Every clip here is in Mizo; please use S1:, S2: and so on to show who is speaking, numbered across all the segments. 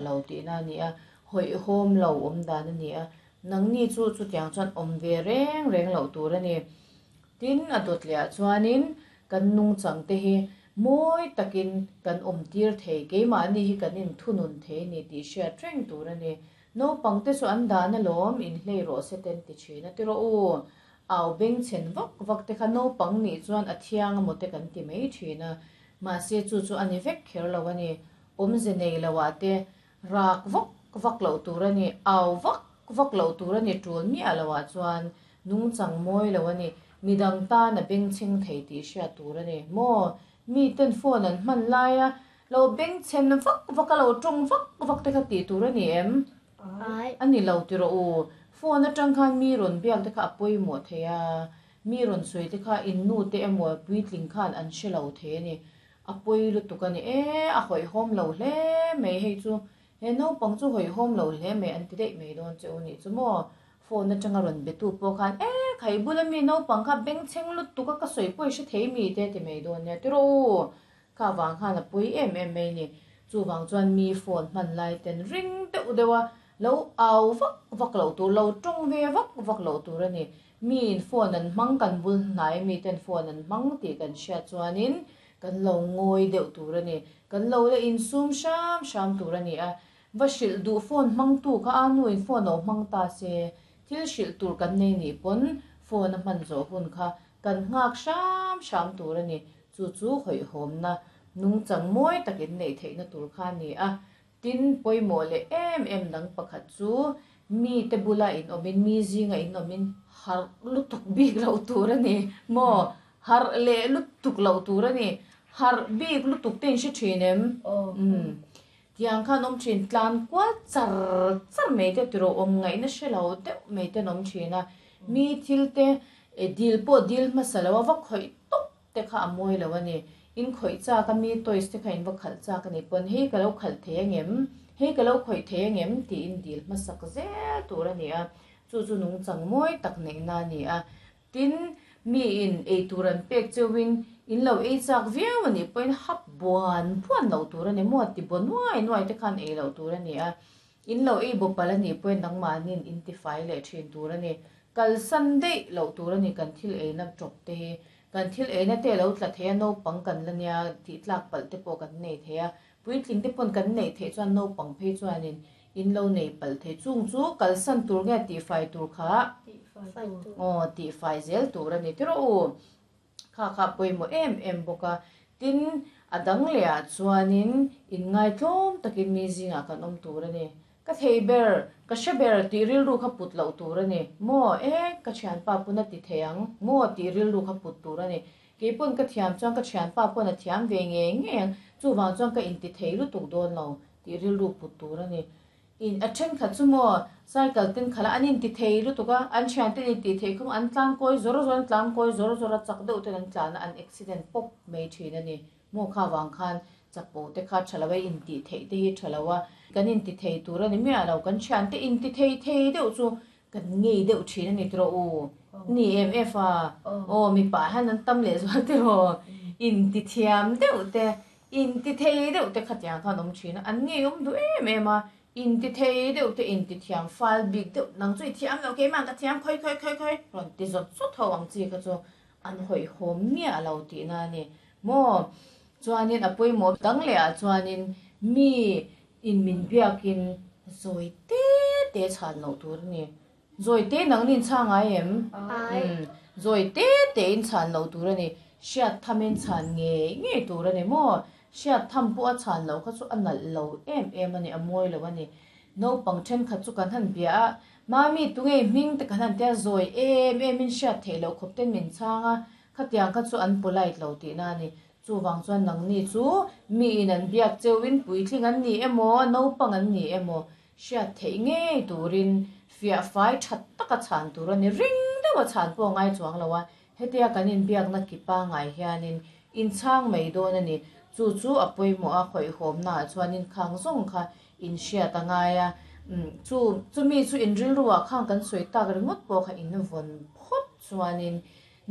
S1: Lo tihna a ni a, hawihhawm lo awm dan a ni a, nangni chu chutiang chuan awm ve reng reng loh tur a ni. Tin, a dawt leh ah chuanin kan nungchang te hi mawi takin kan awm tir thei, keimahni hi kan inthunun thei a ni tih hriat reng tur a ni. Naupang te chu an dan alawm, inhlei rawh se te an ti thin a, ti rawh u, au bengchhen vak vak te kha naupang nih chuan a thiang amaw te kan ti mai thin a, mahse chu chu a ni vek kher lo a ni. Awmze nei lo ah te rak vak vak loh tur a ni, au vak vak loh tur a ni tul miah lo ah chuan nungchang mawi lo a ni, midang tan a bengchheng thei tih hriat tur a ni. Maw? Mi ten phone an hman lai a lo bengchhen vak vak a lo tawng vak vak te kha tih tur a ni em? A ni lo ti rawh u. Phone atang khan mi rawn biak te kha a pawimawh thei a, mi rawn sawi te kha in nu te emaw puitling khan an hre lo thei a ni. A pawi lutuk a ni e, a hawihhawm lo hle mai hei chu, he naupang chu hawihhawm lo hle mai an ti daih mai dawn che u nih chu maw? Phone atanga rawn be tu pawh khan e khai bula mi naupang kha bengchheng lutuk a ka sawi pawh i hre thei mi te ti mai dawn nia tiraw u, kha vang khan a pawi em em mai ni, chuvang chuan mi phone hman lai ten ring deuh deuh a lo au vak vak loh tur, lo tawng ve vak vak loh tur a ni. Miin phone an hmang kan bul hnai miten phone an hmang tih kan hriat chuanin kan lo ngawi deuh tur a ni. Kan lo la insum hram hram tur a ni a. Va hrilh duh phone hmangtu kha a nuin phone lo hmang ta se, thil hrilh tur kan nei nih pawn phone a hman zawh hun kha kan nghak hram hram tur a ni. Chu chu hawihhawmna nungchang mawi tak inneih theihna tur kha a ni a. Tin, pawimawh leh em em dang pakhat chu mite bula inawmin, mi zinga inawmin harh lutuk bik loh tur a ni maw? Harh leh lutuk loh tur a ni. Harh bik lutuk te in hre thin em? Umm. Tiang khan awm thin, tlan kual char char mai te tiraw awm ngaihna hre lo deuh mai ten awm thin a. Mi thil te dil pawh dil hmasa lo a va khawih tawp te kha a mawi lo a ni. In khawih chak a mi toys te kha in va khalh chak a ni pawn hei ka lo khalh thei angem, hei ka lo khawih thei angem tiin dil hmasak zel tur a ni a, chu chu nungchang mawi tak neihna a ni a. Tin, mi in ei tur an pek cheuhin in lo ei chak viau a nih pawhin hap buan buan loh tur a ni maw ti baw nuai nuai te khan ei loh tur a ni a. In lo ei baw palh a nih pawhin nangmahniin in tifai leh thin tur a ni. Kalsan daih loh tur a ni kan thil eina tawp te hi. Kan thil eina te lo tla thei a, naupang kan la nia tih tlak palh te pawh kan nei thei a, puitling te pawn kan neih theih chuan naupang phei chuanin in lo nei palh thei. Chung chu kalsan tur nge tihfai tur kha? Aw, tihfai zel tur a ni tiraw u. Kha kha pawimawh em em bawk a. Tin, a dang lehah chuanin inngaitlawm takin mi zingah kan awm tur a ni. Ka thei ber, ka hre ber tih rilru kha put loh tur a ni. Maw? E, ka thianpa pawn a ti thei ang. Maw? Tih rilru kha put tur a ni. Kei pawn ka thiam chuan ka thianpa pawn a thiam ve ngei ngei ang. Chuvang chuan ka inti thei lutuk dawn lo tih rilru put tur a ni. In, a thenkhat chu maw, cycle ten khalh a, an inti thei lutuk a, an thianten intih theih khawm an tlan kawi zawr zawr, an tlan kawi zawr zawr a, chak deuh ten an tlan a, an accident pawp mai thin a ni. Maw kha vang khan chapo te kha tha lo a, intih theih te hi tha lo a, kan inti thei tur a ni miah lo, kan thiante inti thei thei deuh chu kan ngei deuh thin a ni tiraw u, ni em em a, aw mipa hian an tam leh zual tiraw, inti thiam deuh te, inti thei deuh te khatiang khan awm thin a, an ngei awm duh em em a, inti thei deuh te, inti thiam fal bik deuh, nang chu i thiam lo keimah ka thiam khawi khawi khawi khawi rawn ti zawt zawt ho ang chi kha chu An hawihhawm miah lo tihna a ni maw? Chuanin a pawimawh dang leh ah chuanin mi in min biakin zawi te te chhan loh tur a ni. Zawi te nangni in chhang ngai em? Umm zawi te te in chhan loh tur a ni. Hriat thamin chhan ngei ngei tur a ni maw? Hriat tham pawh a chhan loh kha chu a nalh lo em em a ni, a mawi lo a ni. Naupang thenkhat chu kan han bia a, Mami tunge i hming te kan han tia zawi em em in hriat theih loh khawp ten min chhang a, khatiang kha chu an polite lo tihna a ni. Chuvang chuan nangni chu mi in an biak cheu in puitling an ni emaw, naupang an ni emaw hriat theih ngei turin fiah fai tha taka chhan tur a ni. Ring deuha chhan pawh a ngai chuang lo a, Hetia kan inbiakna ki pangai hianin inchhang mai dawn a ni. Chu chu a pawimawh a, hawihhawmnaah chuanin khang zawng kha inhriat a ngai a. Chu chumi chu inrilruah khang kan sawi tak ringawt pawh kha invawn phawt chuanin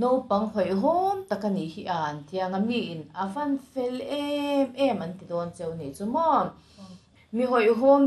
S1: naupang hawihhawm tak a nih hi a an tiang a, miin a van fel em em an ti dawn cheu nih chu maw? Mi hawihhawm